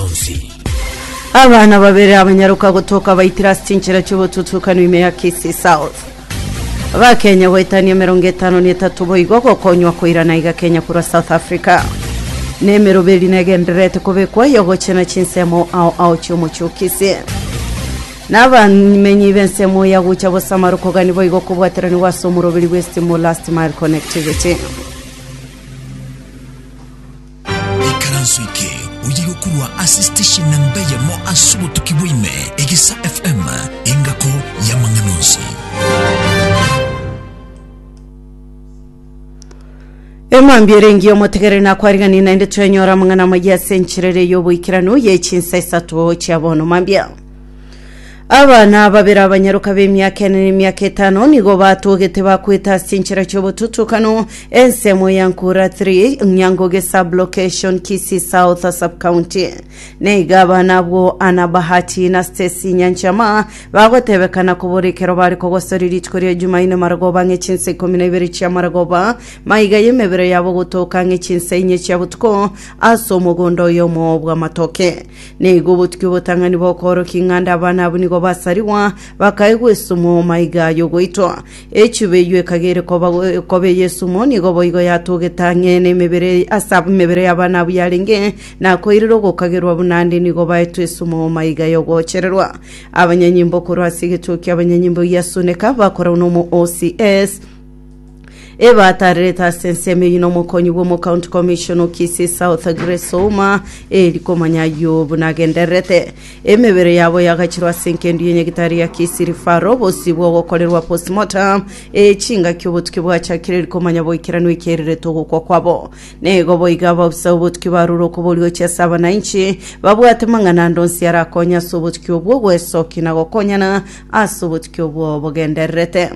y'amang'ana onsi. Abana babere abanyaroka gotoka baitire ase chinchera chi'obotutukanu ime ya Kisii South. Abakenya goetania 53 boigo gokonywa koirana iga Kenya korwa South Africa. Na emeroberi negendererete kobekwa yogochena chinsemo ao ao chi'omochie o Kisii. Na abamenyi b'ensemo ya gocha bosamaro kogani boigo kobwateranigwa ase omoroberi bw'esitimu Last Mile Connectivity. Ikaranso eke oye gokurwa ase station namba eyemo ase obotuki bwa ime, Egesa FM, engako y'amang'ana onsi. Emambia ere engiya omotegereri nakwariganie naende twenyora amang'ana amayia ase enchera ere y'oboikeranu ye chinsa isato chia bono mambia. Abana babere abanyaroka b'emiaka ene na emiaka etano nigo batogete bakwete ase chinchera chi'obotutukanu ensemo ya Nkura 3 Nyangoge sub-location Kisii South sub-county. Nigo abana abwo Anna Bahati na Stacy Nyanchama bagotebekana kobora ekero bare kogosoria rituko ria Jumaine marogoba ang'e chinsa ikomi na ibere chia marogoba maiga y'emebere yabo gotoka ang'e chinsa inye chia botuko ase omogondo oyomo bw'amatoke. Nigo obotuki obotang'ani bokoorokia ng'a ande abana abwo nigo basarigwa, bakaegwa esumo maiga y'ogoitwa. Echuba eyio ekagere koba koba ey'esumo nigo boigo yatogete ang'e nemebere ase emebere y'abana abwo yarenge, na koirera ogokagerwa buna ande nigo baetwe esumo maiga y'ogochererwa. Abanyanyimbo korwa ase egetuo ki'abanyanyimbo gia Suneka bakorwa nomo OCS, Ebatarerete ase ensemo eyio nomokonyi bw'omocounty commissioner o Kisii South Grace Ouma eri komanya ayio buna agendererete. Emebere yabo yagachirwe ase enkendu y'enyagitari ya Kisii Referral bosio bw'ogokorerwa postmortem eye chingaki obotuki bwachakire eri komanya boikeranu ekererete ogokwa kwabo. Nigo boigo abaofisa b'obotuki barure okoboria gochia ase abananchi babwate mang'ana ande onsi arakonye ase obotuki obwo gwesokia na gokonyana ase obotuki obwo bogendererete.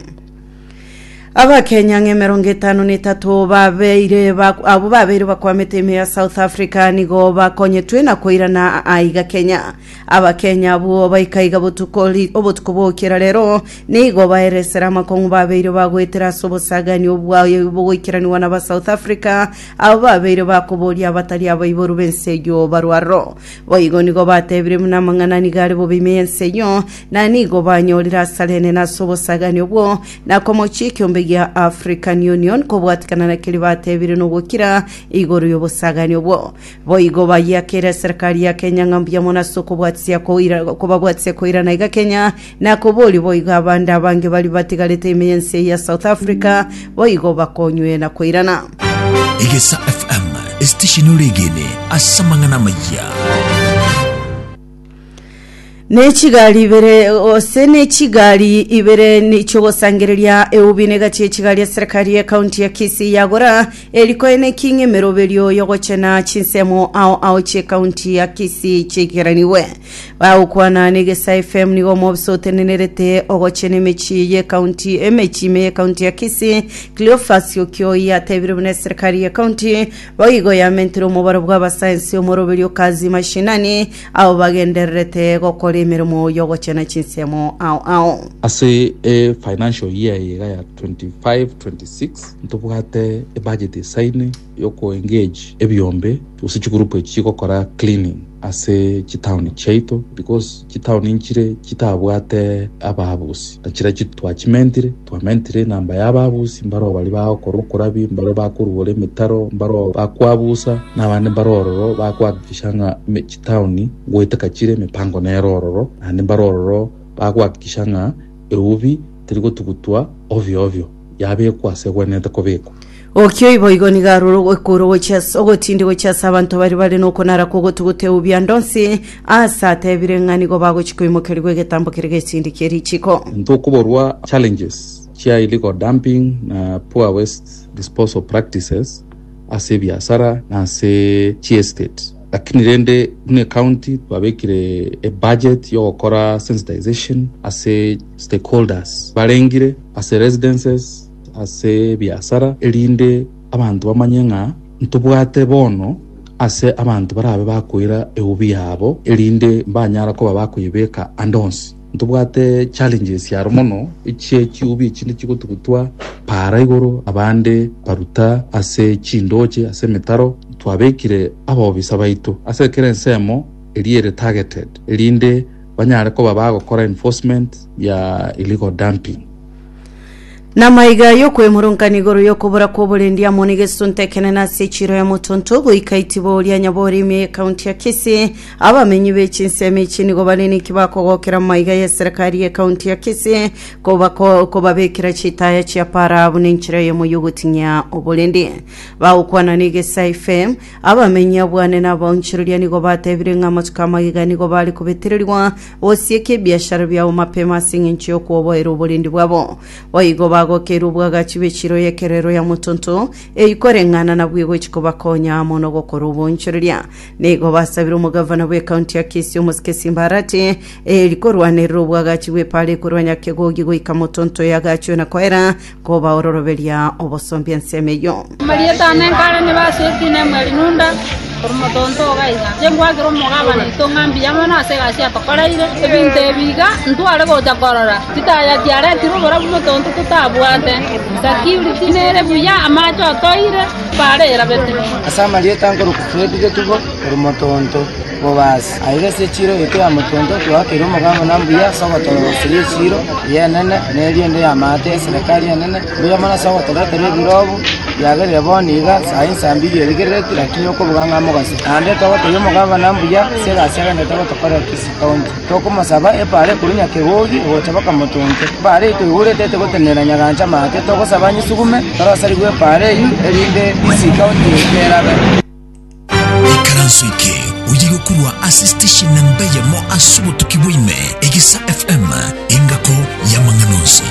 Abakenya ng'a 53 babeire ba- abwo babeire bakwamete ime ya South Africa nigo bakonyetwe na koirana aiga Kenya. Abakenya abwo baika iga botuko ri- obotuko bwokera rero nigo baeresera amakong'u babeire bagoetera ase obosagani obwa bogoikeranigwa na ba South Africa abo babeire bakoboria abatari abaiboru b'ense eyio barwe aroro. Boigo nigo batebire buna amang'ana nigo are bobe ime y'ense eyio, na nigo banyorire asare enene ase obosagani obwo, na komochia ekiombe gia African Union kobwatikana na keria batebire nogokira igoro y'obosagani obwo. Boigo bayiakeire eserikari ya Kenya ng'a mbuya mono ase okobwatisia koira kobabwatisia koirana iga Kenya, na koboria boigo abande abange baria batigarete ime y'ense ya South Africa boigo bakonywe na koirana. Egesa FM, esitesheni oregene ase amang'ana amayia. Ne chigari ibere gose ne chigari ibere ni chiogosangereria eubi negati ye chigari eserikari ye county ya Kisii yagora erikoene king emeroberio yogochena chinsemo ao ao chie county ya Kisii chiikeraniwe bagokwana ne Gesa FM nigo omobisa otenenerete ogochena emechie ye county emechie ime ye county ya Kisii Cleophas Okioi atebire buna eserikari ye county Boigo yamentire omobaro bw'abasaensi omoroberio Kazi Mashinani, abwo bagendererete gokora emeremo y'ogochena chinsemo ao ao. Ase e financial year eye iga ya 25-26 ntobwate ebudget esaine yoko engage ebiombe gose chigroup echi chigokora cleaning ase chitown chiaito because chitown nchire chitabwate ababusi na chiria twachimentire Twamentire enamba y'ababusi, mbaroo baria bagokora okorabi, mbaroo bakoruora emetaro, mbaroo bakwabusa, na abande mbare ororo bakohakikisha ng'a chitaoni ngoeteka chire, emepango nere ororo, naende mbare ororo bagohakikisha ng'a eubi teri gotugutwa ovyo ovyo, yabekwa ase egwenerete kobekwa. Okio boigo nigo arure ogokura gochia ase ogotindi gochia ase abanto baria bare nokonara kw'ogotuguta eubi ande onsi, aase atebire ng'a nigo bagochia koimokerigwa egetambo keria getindi kie richiko. Ntokoborwa challenges chia illegal dumping na poor waste disposal practices ase ebiasara na ase chiestate. Lakini rende buna ecounty twabekire ebudget yogokora sensitization ase stakeholders barengire ase residences, ase ebiasara, erinde abanto bamanye ng'a ntobwate bono ase abanto barabe bakoira eubi yabo, erinde mbanyara koba bakoyebeka ande onsi. Ntobwate challenges aro mono echie chiubi echinde chigotugutwa para igoro, abande baruta ase chindoche, ase emetaro. Twabekire abobisa baito ase kera ensemo. eria ere targeted erinde banyare koba bagokora enforcement ya illegal dumping. Namaiga y'okwemurungania igoro y'okobora kw'oborendi amo negesunte ekenene ase echiiro ya Motonto goika itibo ria Nyabori ime y'ekaunti ya Kisii. Abamenyi be chinsemo echi nigo bare ninki bakogokera amaiga y'eserekari y'ekaunti ya Kisii kobako kobabekera chitaya chia para buna enchera eyemo y'ogoting'ia oborendi. Bagokwana n'Egesae FM, abamenyi abwane na abaonchoreria nigo batebire ng'a amatuko amagega nigo bare kobetererigwa Gosieka ebiashara biabo mapema ase engencho y'okwoboera oborendi bwabo. Boigo bagokeire obwagachi bw'echiro y'ekerero ya motonto, eyio koreng'ana nabwo egochia kobakonya amo nogokora oboonchoreria. Nigo basabire omogavana bw'ekaunti ya Kisii omosike Simba Arati, eri korwanerera obwagachi bw'epaara ekorwa Nyakegogi goika motonto yagachwe na koera kobaororoberia obosombi ensemo eyio. Amarieta ane nkare nibasoetie Nemueli Nunda, korwa motonto iga iga. Inche ngwakera omogabana oito ng'a mbuya mono ase egasi atokoreire. Ebinto ebi iga ntware gocha korora, chitaya chiaretirwe oborabu motonto totabwate, security nere buya, amache otoire, bare erabete. Ase amarieta nkorokwa Fred Getubo, korwa motonto Bobasi. Aiga ase echiiro yaito ya motonto twakeire omogabana mbuya ase ogotoroseria echiiro eye enene na eriende y'amaate y'eserekari enene. Mbuya mono ase ogotoretera ebirobu biagerire bono iga saa insa mbiri erigerereti lakini okobuga ng'a mogaso. Naende togotebia omogabana mbuya ase egasi agenderete gotokorera Kisii County. Tokomosaba epaara ekorwa Nyakegogi gocha baka motonto. Epaara eyio toigurete etegotenena Nyagancha maate togosaba nyisugume torosarigwe epaara eyio erinde Kisii County erabe. Ikaranso eke oye gokorwa ase station namba eyemo ase obotuki bwa ime, Egesa FM, engako y'amang'ana onsi.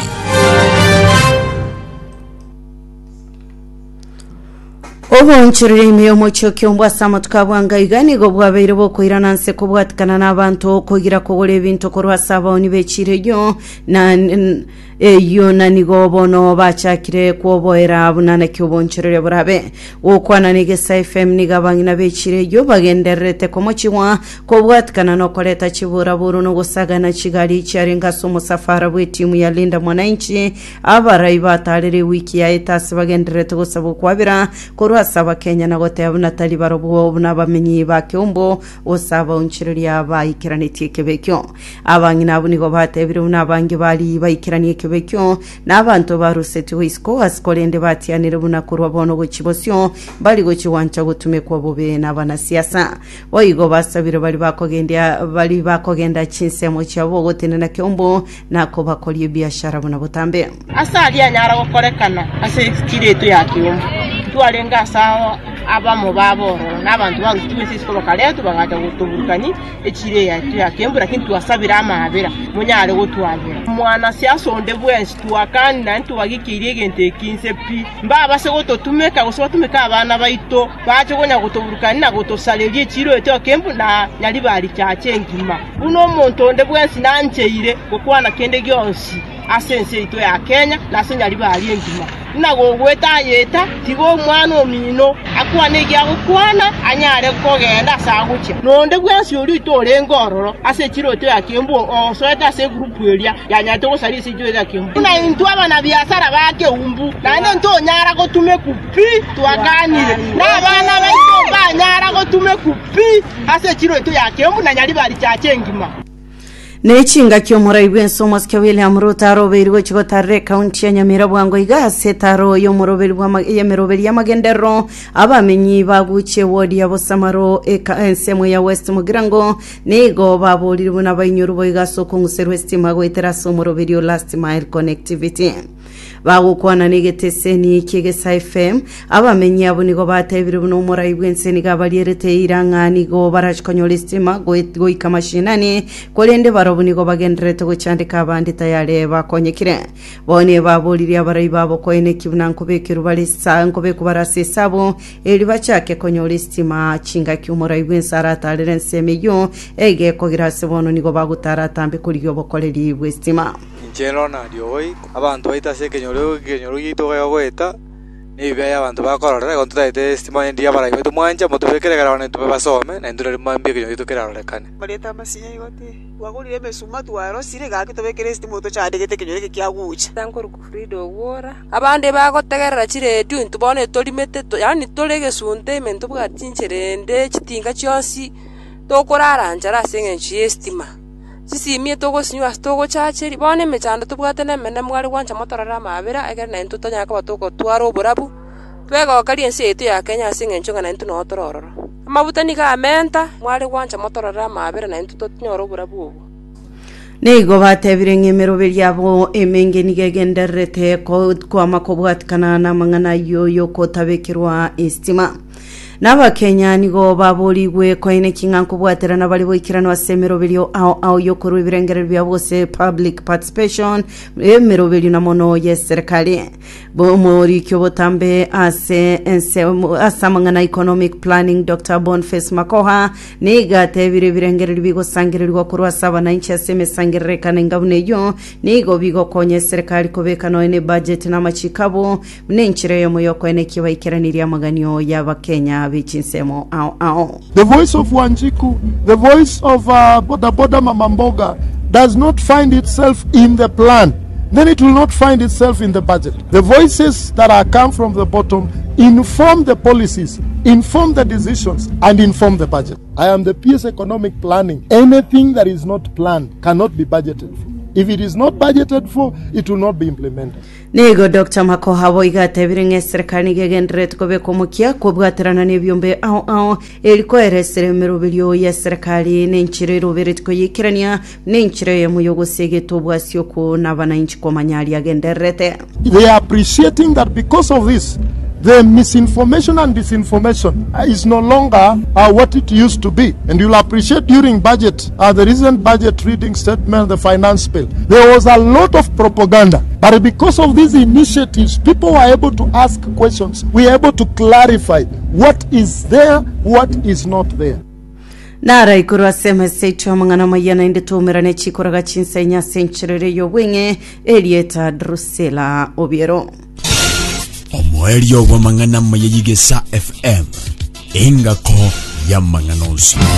Oboonchoreria ime y'omochie o Kiombo ase amatuko a bwango aiga nigo bwabeire bokoirana nse kobwatikana n'abanto kogira kogora ebinto korwa ase abaoni b'echiiro eyio na eyio na nigo bono bachakire kwoboera buna naki oboonchoreria borabe. Gokwana n'Egesaa FM nigo abang'ina b'echiiro eyio bagendererete komochigwa kobwatikana nokoreta chiburaburu na ogosagana chigari chiarenge ase omosafara bw'etimu ya Linda Mwananchi Abarai bataarire ewiki yaete ase bagendererete gosaba okwabera korwa ase Abakenya na goteba buna tari barobwo buna abamenyi ba Keumbu gose abaonchoreria baikeranetie ekebe ekio. Abang'ina abwo nigo batebire buna abange baria baikeranie ekebe ekio na abanto barusetigwe isiko ase korende batianire buna korwa bono gochia bosio mbari gochia gwancha gotumekwa bobe nabanasiasa. Boigo basabire baria bakogendia baria bakogenda chinsemo chiabo gotenena Keumbu na kobakoria ebiashara buna botambe. Ase aria anyara gokorekana ase echiro yaito ya Kiumbu, twarenge ase abamo babo ororo, na abanto barusetigwe ense isiko bakaretwa bagacha gotoburukania echiro eye yaito ya Kiumbu, lakini twasabire amaabera monyare gotwabera. Mwanasiasa onde bwensi twakanire naende twagikeirie egento eke inse pi, mbabase gototumeka gose batumeke abana baito bache konya gotoburukania na gotosareria echiro yaito ya Kiumbu na Nyaribari Church engima. Buna omonto onde bwensi nancheire gokwana kende gionsi ase ense yaito ya Kenya na ase Nyaribari engima, buna gogoeta ayeta, tiga omwana omino akwane eki agokwana, anyare kogenda ase agochia. Na onde bwensi oria oito orenge ororo ase echiro yaito ya Kiambu osoete ase egroup eria yanyarete gosaria ase echiro yaito ya Kiambu, buna intwe abanabiasara ba Keumbu, naende ntonyara gotumeku pi, twakanire, na abana baito mbanyara gotumeku pi. Ase echiro yaito ya Keumbu na Nyaribari Church engima. Ne chingaki omorai bw'ense omosike William Ruto arobeirwe gochia gotarera ekaunti ya Nyamira bwango iga ase etaro y'omoroberi bw'ama- y'emeroberi y'amagenderero abamenyi baguchie ewodi ya Bosamaro eka ensemo ya West Mugirango nigo baborire buna bainyorwe boigo ase okong'userwa estima goetera ase omoroberi o Last Mile Connectivity. Bagokwana negeteseni ki'Egesaa FM, abamenyi abwo nigo batebire buna omorai bw'ense nigo abarierete eira ng'a nigo barache konyora esitima goika mashinani, korende barobwo nigo bagendererete gochandeka abande tayare bakonyekire. Bono baboririe abarai babo koeneki buna nkobekerwa bare esa nkobekwa bare ase esabu erio bachake konyora esitima chingaki omorai bw'ense aratarere ensemo eyio egekogira ase bono nigo bagotara atambe korigia obokoreri bw'esitima. Inche Ronald Ogoi, abanto baito ase ekenyoro ekenyoro giaito gegoeta, na ebibe abanto bakororera, igo ntotagete estima onye ndiria abarai baito mwancha motobekere ekero abana baito basome, naintwe nario mambia ekenyoro giaito kerarorekane. Marieta amasinya igo ti twagorire emesuma twarosire gaki tobekere esitima otochandegete ekenyoro eke kiagucha. Nkorokwa Frida Ogwora. Abande bagotegerera chiredio intwe bono etorimete yaani tore egesunte ime ntobwati chinchera ende chitinga chionsi. Tokorara nchara ase eng'encho y'estima. Chisimi etogosinywa ase togochacheri, bono emechando tobwate nemene mware gwancha motorore amaabera, ekero naintwe tonyare koba togotwara oborabu, twegokerie ense yaito ya Kenya ase eng'encho ng'a naintwe noo tore ororo. Amabuta nigo amenta, mware gwancha motorore amaabera naintwe tonyore oborabu obwo. Nigo batebire ng'a emeroberi yabo emenge nigo egendererete kwama kobwatikana namang'ana ayio y'okotabekerwa estima. Na Abakenya nigo baborigwe koeneki ng'a nkobwaterana bare goikeranu ase emeroberio ao ao y'okorua ebirengererio biabo gose public participation emeroberio na mono y'eserekari. Omoriki obotambe ase ense ase amang'ana economic planning Dr. Boniface Makoha nigo atebire ebirengererio bigosangererigwa korwa ase abananchi ase emesangererekano enga buna eyio nigo bigokonya eserekari kobeka nonya ne budget na amachiko abo buna enchera eyemo y'okoenekia baikeranirie amaganio y'Abakenya be chinsemo ao ao. The voice of Wanjiku, the voice of uh, Boda Boda Mama Mboga does not find itself in the plan, then it will not find itself in the budget. The voices that are come from the bottom inform the policies, inform the decisions, and inform the budget. I am the PS Economic Planning. Anything that is not planned cannot be budgeted for. If it is not budgeted for, it will not be implemented. Nigo Doctor Makoha boigo atebire ng'a eserekari nigo egendererete kobeka omokia kobwaterana nebiombe ao ao eri koeresera emeroberio y'eserekari nenchera eroberetie koyeikerania buna enchera eyemo y'ogosegeta obwasi okwo nabananchi komanya aria agendererete. They are appreciating that because of this the misinformation and disinformation is no longer uh, what it used to be. And you'll appreciate during budget, uh, the recent budget reading statement, the finance bill, there was a lot of propaganda. But because of these initiatives, people were able to ask questions. We were able to clarify what is there, what is not there. Nara igoro ase emesa yaito amang'ana amaya naende toumerane chikoraga chinsenya ase enchera ere y'obweng'e erieta Drusilla Obiero. Omoerio bw'amang'ana amaya y'Igesa FM, engako y'amang'ana onsi.